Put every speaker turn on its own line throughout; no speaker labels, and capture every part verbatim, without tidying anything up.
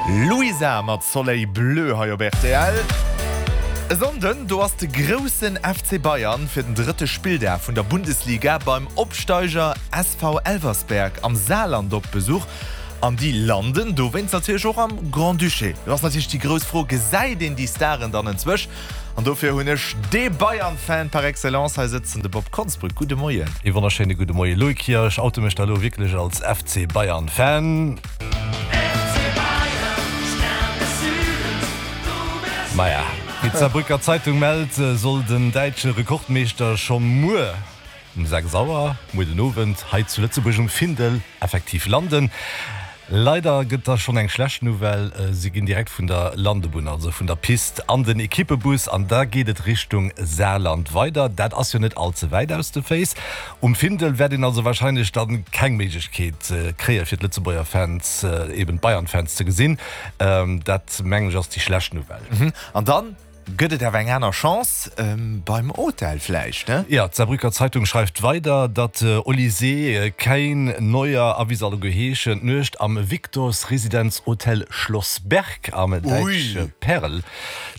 Luisa mat Soleil Bleu hei op rtl. E Sonnden, do ass de groussen F C Bayern fir den drëtte Spilldag vun der Bundesliga beim Opsteiger S V Elversberg am Saarland op Besuch. An déi landen dowéinst natierlech och am Grand-Duché. Do ass natierlech déi grouss Fro, Gesäit een déi Staren dann enzwousch? An dofir hunn ech de Bayern-Fan par excellence hei sëtzen, de Bob Konsbrück. Gudde Moien.
Ee wonnerschéine gudde Moie Loïc. Jo, ech oute mech da lo wierklech als F C Bayern-Fan. Maja, wéi d'Saarbrücker Zeitung mellt, soll den däitsche Rekordmeeschter scho muer um sechs Auer, muer den Owend, hei zu Lëtzebuerg um Findel effektiv landen. Leider gëtt da schonn eng schlecht Nouvelle, Si ginn direkt vun der Landebunn, also vun der Pist, an den Ekippebus an da geet et Richtung Saarland weider. Dat ass jo net all ze wäit aus de Féiss. Um Findel wäert een also warscheinlech dann keng Méiglechkeet kréie fir d'Lëtzebuerger Fans, eben d'Bayern-Fans ze gesinn. Dat mengen ech ass déi schlecht Nouvelle.
An dann gëtt et awer eng aner Chance, beim Hotel vläicht, ne?
Jo, d'Saarbrücker Zeitung schreift weider, datt Olise, Kane, Neuer a wéi se alleguer heeschen, d'Nuecht am Victor's Residenz Hotel Schloss Berg am däitsche Perl,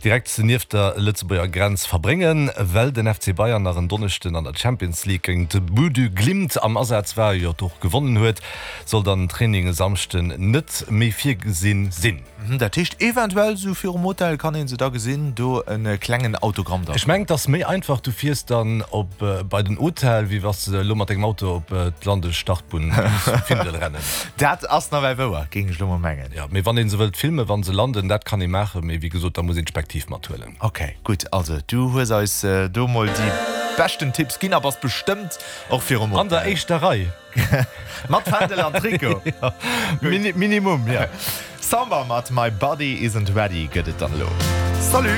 direkt nieft der Lëtzebuerger Grenz, verbréngen. Well den F C Bayern nach en Donneschden an der Champions League géint Bodø Glimt am Asaz war, jo och gewonnen huet, soll dann den Training e Samschden net méi virgesinn sinn.
Dat heescht eventuell sou virum Hotel kann een se da gesinn, do en klengen Autogramm
da. Ech mengen et ass méi einfach, du fiers dann op bei den Hotel wéi wanns de elo mat dengem Auto op d'Landestartbunn zum Findel rennen.
Dat ass nawell wouer, géing ech elo mol mengen.
Jo, mee wann een se wëllt filmen wann se landen, dat kann ee maachen, mee wéi gesot da muss een d'Spektiv mathuelen.
Ok, gutt, also du hues eis do mol déi beschten Tipps ginn a bass bestëmmt och virum
Hotel. An der éischter Rei.
Mat Fändel an Trikot.
Minimum, jo.
Samba mat My Body Isn't Ready gëtt et dann elo. Salut!